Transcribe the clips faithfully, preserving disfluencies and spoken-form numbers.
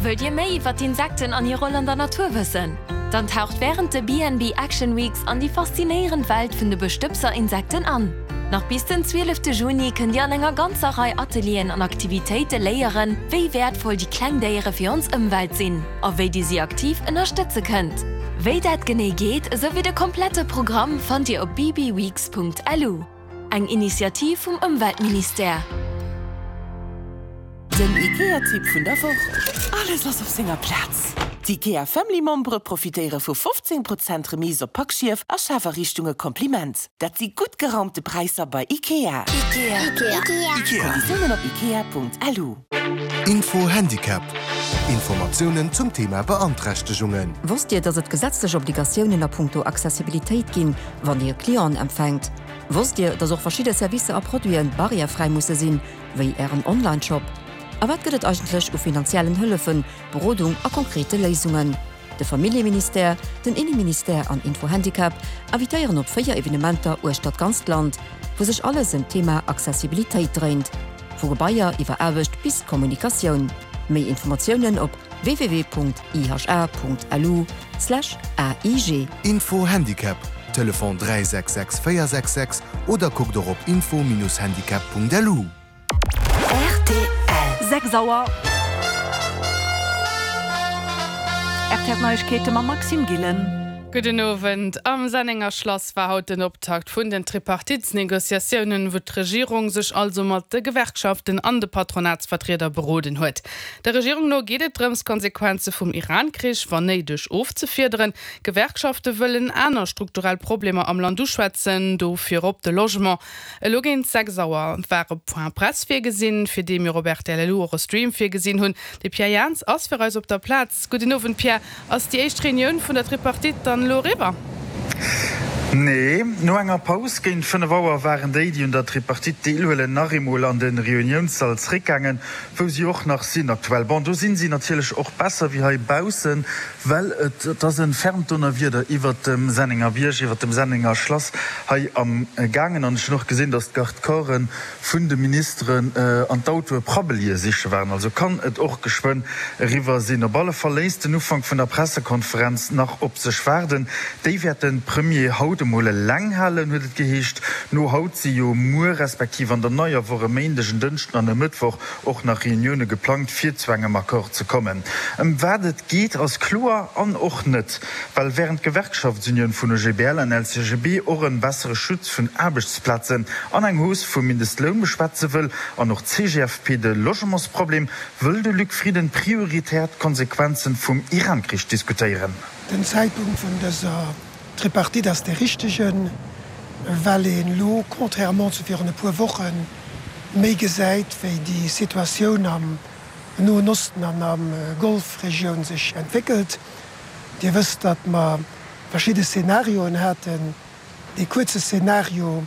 Wëllt Dir méi iwwer d'Insekten an hir Roll an der Natur wëssen? Dann taucht wärend de B N B Action Weeks an déi faszinéierend Welt vun de Bestëbser-Insekten an. Nach bis den zwielefte Juni kënnt Dir an enger ganzer Rei Atelieren an Aktivitéite léieren, wéi wäertvoll déi kleng Déiere fir ons Ëmwelt sinn a wéi Dir si aktiv ënnerstëtze kënnt. Wéi dat genee geet, esouwéi de komplette Programm fannt Dir op b b weeks Punkt l u. Eng Initiativ vum Ëmweltministère. Den IKEA-Tipp vun der Woch. Alles ass op senger Plaz. D'IKEA Family Membere profitéiere vu fofzéng Prozent Remise op Packschief a Schafariichtunge Kompliment. Dat si gutt geraumte Präisser bei IKEA. IKEA. IKEA. Konditiounen op ikea Punkt L U. Info Handicap. Informatiounen zum Thema Beanträchtegungen. Wosst Dir, dass et gesetzlech Obligatiounen a punkto Accessibilitéit ginn, wann Dir Clienten empfänkt? Wosst Dir, dass och verschidde Servicer a Produiten barrièrefräi musse sinn, wéi Ären Online-Shop? A wat gëtt et eigentlech u finanziellen Hëllefen, Berodung a konkrete Léisungen? De Familljeministère, den Inneministère an Info Handicap invitéieren op véier Evenementer uechter d'ganzt Land, wou sech alles ëm d'Thema Accessibilitéit dréint. Vu Gebaier iwwer Aarbecht bis Kommunikatioun. Méi Informatiounen op w w w Punkt I H A Punkt L U Slash A I G. Info Handicap, Telefon dräi sechs sechs véier sechs sechs oder kuckt och op info-handicap Punkt L U. R T L. Sechs Auer. R T L Neiegkeete mam Maxime Gillen. Gudden Owend. Am Sennenger Schlass war haut den Optakt vun den Tripartitsnegociatiounen, wou d'Regierung sech also mat de Gewerkschaften an de Patronatsvertrieder beroden huet. Der Regierung no geet et drëms, Konsequenze vum Iran-Krich wann néideg ofzefiederen. Gewerkschafte wëllen aner strukturell Problemer am Land uschwätzen, do virop de Logement. Elo géint sechs Auer war e Point Presse virgesinn, fir dee mir op R T L L U och e Stream virgesinn hunn. De Pierre Jans ass fir eis op der Plaz. Gudden Owend, Pierre. Ass déi éischt Reunioun vun der Tripartite dann elo eriwwer? Nee, no enger Paus géint fënnef Auer waren déi, déi un der Tripartite deelhuelen, nach eemol an de Reuniounssall zréckgaangen, wou si och nach sinn aktuell. Bon, do sinn si natierlech och besser wéi hei baussen, well et et ass e fermt Donnerwieder iwwert dem Sennenger Bierg, iwwert dem Sennenger Schlass hei am gaangen. An ech hunn och gesinn, datt d'Garde-corpsen vun de Ministeren an d'Autoe Prabbelië siche waren. Also kann et och geschwënn eriwwer sinn. Op alle Fall léisst den Ufank vun der Pressekonferenz nach op sech waarden. Déi wäert de Premier haut emol eleng halen, huet et geheescht. No haut si jo muer respektiv an der neier Woch e Méindeg, en Dënschden an e Mëttwoch och nach Reunioune geplangt, fir zu engem Accord ze kommen. Ëm wat et geet, ass kloer an och net. Well wärend d'Gewerkschaftsunioun vun O G B L an L C G B och e bessere Schutz vun Aarbechtsplazen an eng Hausse vum Mindestloun beschwätze wëll an och d'C G F P de Logementsproblem, wëll de Luc Frieden prioritär d'Konsequenze vum Iran-Krich diskutéieren. Den Zäitpunkt vun dëser Tripartite ass dee richtegen, well een elo, contrairement zu virun e puer Wochen, méi gesäit, wéi déi Situatioun am Noen Osten an am Golfregioun sech entwéckelt. Dir wësst, datt mer verschidde Szenarioen haten. Dee kuerze Szenario,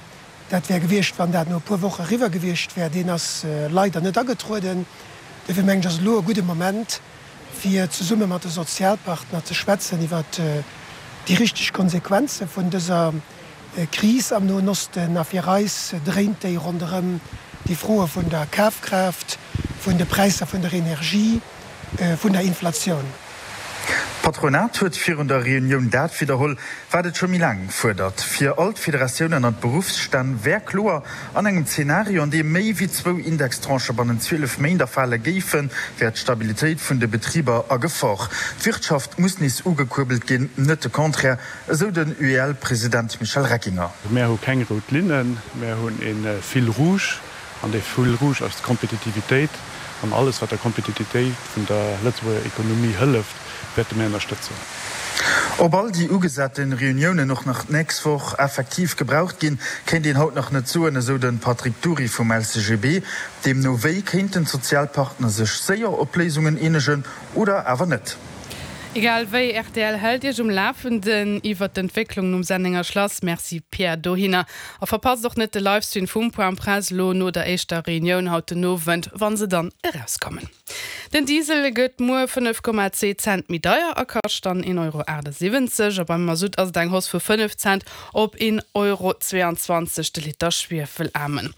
dat wär gewiescht, wann dat no e puer Woche eriwwer gewiescht wär, deen ass leider net agetrueden. Dofir mengen ech, ass elo e gudde Moment, fir zesumme mat de Sozialpartner ze schwätzen iwwert déi richteg Konsequenze vun dëser Kris am Noen Osten. A fir eis dréint déi ronderëm déi Froe vun der Kafkraaft, vun de Präisser vun der Energie, vun der Inflatioun. D'Patronat huet virun der Reunioun dat widderholl, wat et scho méi laang fuerdert. Fir all d'Federatiounen an d'Beruffsstänn wär kloer, An engem Zenario, an deem méi wéi zwou Indextranchë bannent zwielef Méint erfale géifen, wär d'Stabilitéit vun de Betriber a Gefor. D'Wirtschaft muss nees ugekuerbelt ginn, net de Contraire, esou den U E L-President Michel Reckinger. Mär hu keng rout Linnen, mär hunn e Fil rouge, an dee Fil rouge ass d'Kompetitivitéit. An alles, wat der Kompetitivitéit vun der Lëtzebuerger Ekonomie hëlleft, wäerte mir ënnerstëtzen. Ob all déi ugesate Reuniounen och nach d'nächst Woch effektiv gebraucht ginn, kéint een haut nach net soen, esou de Patrick Dury vum L C G B. Deemno wéi kéinten d'Sozialpartner sech séier op Léisungen eenegen oder awer net. Egal wéi, R T L hält Iech um Lafenden iwwer d'Entwécklung nom Sennenger Schlass. Merci Pierre dohinner. A verpasst och net de Livestream vum Point Presse lo no der éischter Reunioun haut den Owend, wann se dann erauskommen. Den Diesel gëtt muer fënnef Komma zwee Cent méi deier a kascht dann een Euro achtesiwwenzeg a beim Masutt ass et eng Hausse vu fënnef Cent op een Euro zweeanzwanzeg de Liter Schwiefelaarmen.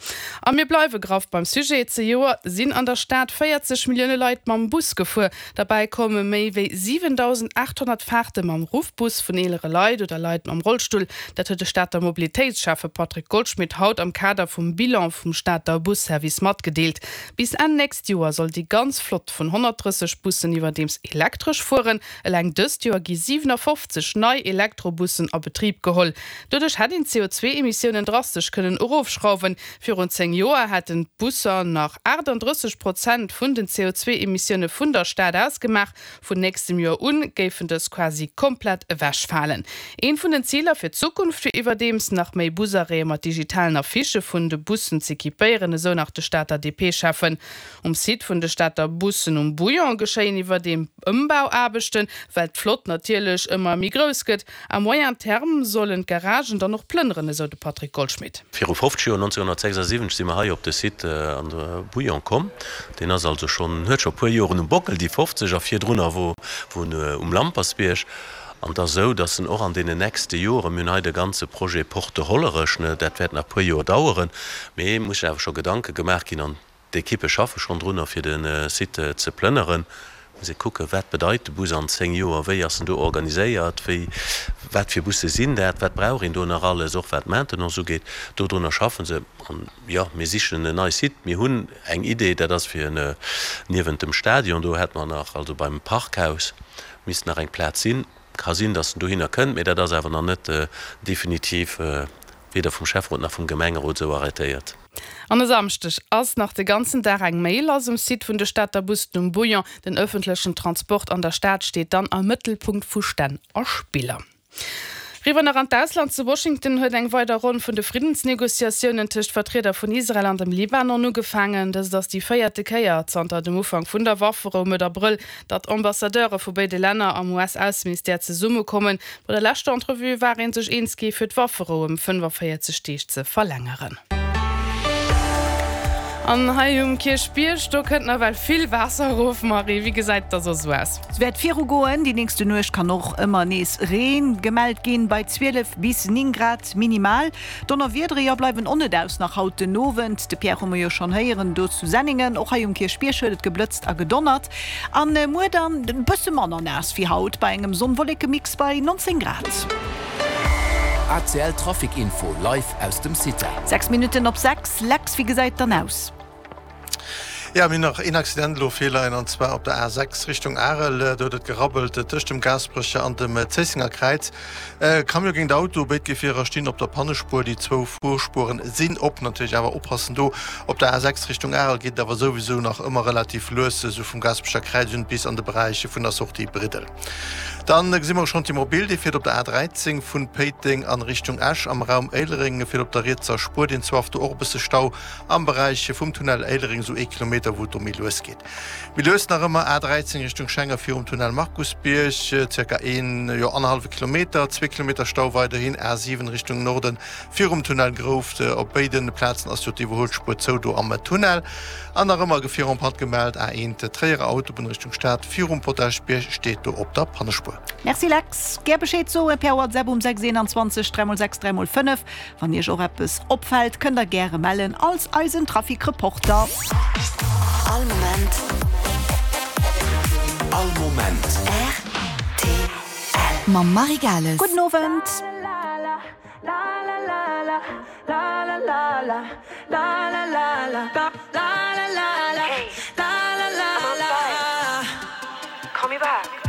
A mir bleiwe graff beim Sujet, Zejoert sinn an der Stad véierzeg Millioune Leit mam Bus gefuer. Derbäi komme méi wéi siwentausendachthonnert Faarte mam Ruffbus vun eelere Leit oder Leit mam Rollstull. Dat huet de Stater Mobilitéitsschäffe Patrick Goldschmidt haut am Kader vum Bilan vum Stater Busservice matgedeelt. Bis Enn nächst Joer soll déi ganz Flott vun honnertdrësseg Bussen iwwerdeems elektresch fueren. Eleng dëst Joer gi siwenafofzeg nei Elektrobussen a Betrib geholl. Doduerch hätt een d'C O zwee Emissiounen drastesch kënnen erofschrauwen. Virun zéng Joer hätten d'Busser nach achtandrësseg Prozent vun den C O zwee Emissioune vun der Stad ausgemaach. Vun nächstem Joer u géifen dës quasi komplett ewechfalen. Eent vun den Ziler fir d'Zukunft wier iwwerdeems, nach méi Busarrêtë mat digitalen Affichë vun de Bussen z'equipéieren, esou nach de Stater D P-Schäffen. Um Site vun de Stater Bussen um Bouillon geschéien iwwerdeem Ëmbauaarbechten, well d'Flott natierlech ëmmer méi grouss gëtt. À moyen terme sollen d'Garagen dann och plënneren, esou de Patrick Goldschmidt. Viru fofzeg Joer, nonzénghonnertsechsasiwwenzeg, si mer hei op de Site an de Bouillon komm. Deen ass also schonn, huet scho e puer Joren um Bockel, déi fofzeg, a virdrunner wor en um Lampersbierg. An et ass esou, dass en och an deenen nächste Joren, mir hunn hei de ganze Projet Porte de Hollerech, ne, dat wäert nach e puer Joer daueren, mee et muss sech awer scho Gedanke gemaach ginn an d'Ekippe schaffe schonn drunner, fir de Site ze plënneren. Muss ee kucken, wat bedeit de Bus an zéng Joer, wéi ass en do organiséiert, wéi, wat fir Busse sinn dat, wat brauch een do nach alles, och wat d'Maintenance ugeet. Dodrunner schaffen se. An, jo, mir sichen en neie Site. Mir hunn eng Idee, dat ass fir niewent dem Stadion, do hätte mer nach, also beim Parkhaus misst nach eng Plaz sinn. Ka sinn, datt en dohinner kënnt, mee dat ass awer nach net definitiv weder vum Schäfferot nach vum Gemengerot esou arrêtéiert. An e Samschdeg ass nach de ganzen Dag eng Méi lass um Site vun de Stater Bussen um Bouillon. Den ëffentlechen Transport an der Stad steet dann am Mëttelpunkt vu Stänn a Spiller. Riwwer nach an d'Ausland, Zu Washington huet eng weider Ronn vun de Friddensnegociatiounen tëscht Vertrieder vun Israel an dem Libanon ugefaangen. Dëst ass déi véierte Kéier zanter dem Ufank vun der Wafferou Mëtt Abrëll, datt Ambassadeure vu béide Länner am U S-Ausseministère zesummekommen. Bei der leschter Entrevue war ee sech eens gi fir d'Wafferou ëm fënnefaféierzeg Deeg ze verlängeren. An hei um Kierchbierg, do kënnt nawell vill Waasser erof, Marie, wéi gesäit dat soss esou aus? Et wäert viru goen, déi nächste Nuecht kann och ëmmer nees Reen gemellt ginn, bei zwielef bis néng Grad minimal. Donnerwiedere, jo, bleiwen och net aus nach haut den Owend. De Pierre hu mer jo schonn héieren do zu Senningen. Och hei um Kierchbierg huet et geblëtzt a gedonnert. An muer dann e bësse manner naass wéi haut, bei engem Sonn-Wolleke-Mix bei nonzéng Grad. A C L Trafic Info live aus dem Cita. Sechs Minutten op sechs, Lex, wéi gesäit et dann aus? Jo, mir hunn nach een Accident elo virleien, an zwar op der A sechs Richtung Arel. Do huet et gerabbelt tëscht dem Gaasperecher an dem Zéissenger Kräiz. Camion géint Auto, béid Gefierer stinn op der Pannespuer, déi zwou Fuerspueren sinn op. Natierlech awer oppassen do, op der A sechs Richtung Arel geet et awer souwisou nach ëmmer relativ lues, esou vum Gaasperecher Kräiz un bis an de Beräich vun der Sortie Briddel. Dann gesi mer och schonn d'Immobil, déi fiert op der A dräizéng vun Péiteng an Richtung Esch am Raum Éilereng, fiert op der rietser Spuer, deen zwar do och e bësse Stau am Beräich vum Tunnel Éilereng, esou ee Kilometer, wou et do méi lues geet. Méi lues nach ëmmer A dräizéng Richtung Schenger virum Tunnel Markusbierg, zirka een, jo annerhallwe Kilometer, zwee Kilometer Stau weiderhin A siwen Richtung Norden virum Tunnel Grouft. Op béide Plazen ass jo d'Iwwerhuelspuer zou do am Tunnel. An nach ëmmer Gefier en panne gemellt, A eent Tréierer Autobunn Richtung Stad virum Potaschbierg steet do op der Pannespuer. Merci Lex. Gär Bescheed soe per WhatsApp um sechs eenanzwanzeg dräi mol sechs dräi mol fënnef. Wann Iech och eppes opfält, kënnt der gäre mellen als eisen Trafic-Reporter. All Moment. All Moment. R T L. Mam Marie Gales. Gudden Owend. Call me back.